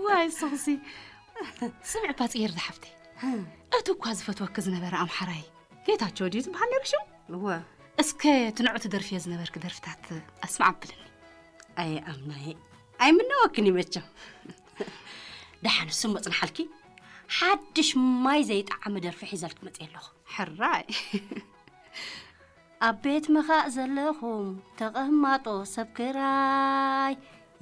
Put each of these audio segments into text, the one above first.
ዋይ ሶሲ፣ ስምዕ ፓጽየር ዝሓፍተይ፣ እቲ እኳ ዝፈትወኪ ዝነበረ ኣምሓራይ ጌታቸው ድዩ ዝበሃል ነይሩ ሽሙ? እወ። እስከ እቲ ንዑ ትደርፍዮ ዝነበርኪ ደርፍታት ኣስማዕ ኣብልኒ። ኣይ ኣምናየ፣ ኣይምነወክን ይመቸው። ደሓን እሱ መጽንሓልኪ፣ ሓድሽ ማይ ዘይጠዓመ ደርፊ ሒዘልክ መጽየ ኣለኹ። ሕራይ። ኣብ ቤት ምኻእ ዘለኹም ተቐማጦ ሰብ ክራይ፣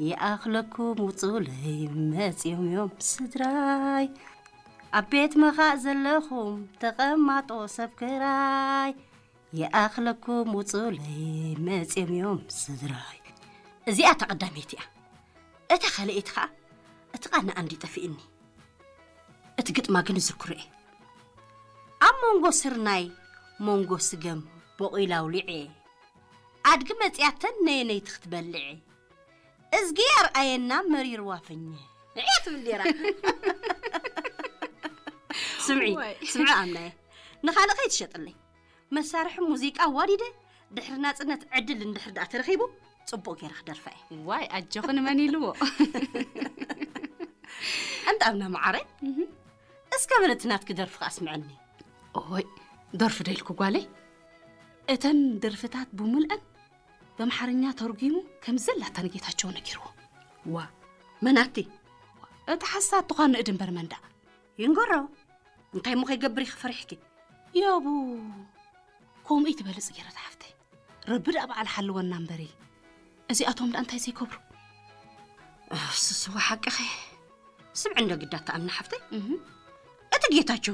ይኣኽለኩም ውጹለይ መጺኦም እዮም ስድራይ። ኣብ ቤት ምኻእ ዘለኹም ተቐማጦ ሰብ ክራይ፣ ይኣኽለኩም ውጹለይ መጺኦም እዮም ስድራይ። እዚኣ እታ ቀዳመይቲ እያ። እታ ካልኣይቲ ኸኣ እቲ ቃና ኣንዲ ጠፊእኒ። እቲ ግጥማ ግን እዝክሮ እየ። ኣብ መንጎ ስርናይ መንጎ ስገም በቑላ ኣውሊዐ፣ ኣድጊ መጺኣተን ነየነይቲ ክትበልዐ፣ እዝጊ ኣርኣየና መሪርዋ ፈኘ እያ ትብል ነይራ። ስምዒ፣ ዋይ። ስምዒ ኣምናየ፣ ንኻልእ ከይትሸጥለይ። መሳርሒ ሙዚቃ ኣዋዲደ ድሕሪ ናጽነት ዕድል እንድሕር ደኣ ተረኺቡ፣ ጽቡቕ ገይረ ክደርፋ እየ። ዋይ፣ ኣጆኺ ንመን ኢልዎ? ኣንታ ኣምና መዓረ፣ እስከ በለ እቲ ናትኪ ደርፊ ከኣ ኣስምዐኒ። ኦይ፣ ደርፊ ዶ ኢልኩ ጓለይ? እተን ደርፍታት ብምልአን በምሓርኛ ተርጒሙ ከም ዘላታ ንጌታቸው ነጊርዎ። ዋ፣ መናቲ? እቲ ሓሳድ ትዃን ንእድ እምበር መንዳ። ይንገሮ። እንታይ እሞ ከይገብር ኢኺ ፈሪሕኪ? ያቡ፣ ከምኡ ትበሊ ጽጌረዳ ሓፍተይ። ረቢ ደኣ በዓል ሓልወና እምበሪ። እዚኣቶም ደኣ እንታይ ዘይገብሩ? እሱስ እወ ሓቅኺ። ስምዒ እንዶ ግዳ ተኣምኒ ሓፍተይ። እህ። እቲ ጌታቸው